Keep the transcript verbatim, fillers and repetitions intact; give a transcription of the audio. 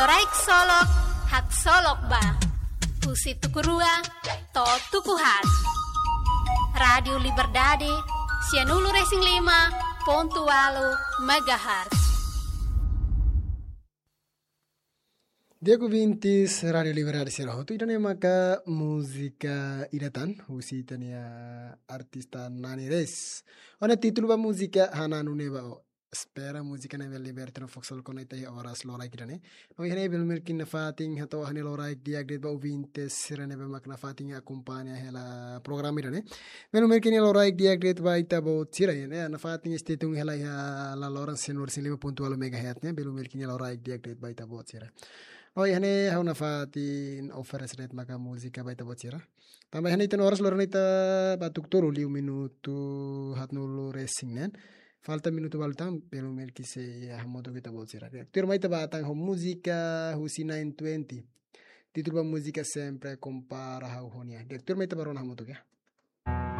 Loraik solok, haksolok ba. Husi tuku rua to'o tuku haat. Rádiu Liberdade, sianulu-resin-lima pontu ualu megahertz. Di'ak ouvintes Rádiu Liberdade sira hotu, ida-ne'e maka múzika ida tan, husi ita-nia artista Nani Reis. Ona títulu ba múzika Hananu Ne'ebá Ó. Espera múzika ne'e bele liberta no fokus kona ita iha oras loraik ida-ne'e. No iha ne'e belun merkin nafatin hato'o ha'u-nia loraik di'ak de'it ba ouvintes sira ne'ebé mak nafatin akompaña hela programa ida-ne'e. Belun merkin loraik di'ak de'it ba ita-boot sira, ya, ne'e nafatin stay tune hela iha laloran sianulu-resin-lima pontu ualu megahertz ne'e, belun merkin loraik di'ak de'it ba ita-boot sira. No iha ne'e ha'u nafatin oferese de'it maka múzika ba ita-boot sira. Tanba iha ne'e ita-nia oras loron ita bá tuku tolu liu minutu haatnulu-resin-neen. Falta minutu balu tan, belun merkin sei hamutuk ho ita-boot sira. Tuirmai ita bá tan ho múzika husi nine twenty. Títulu ba múzika Sempre Compara Ha'u Ho Nia. Tuirmai ita bá rona hamutuk, ya.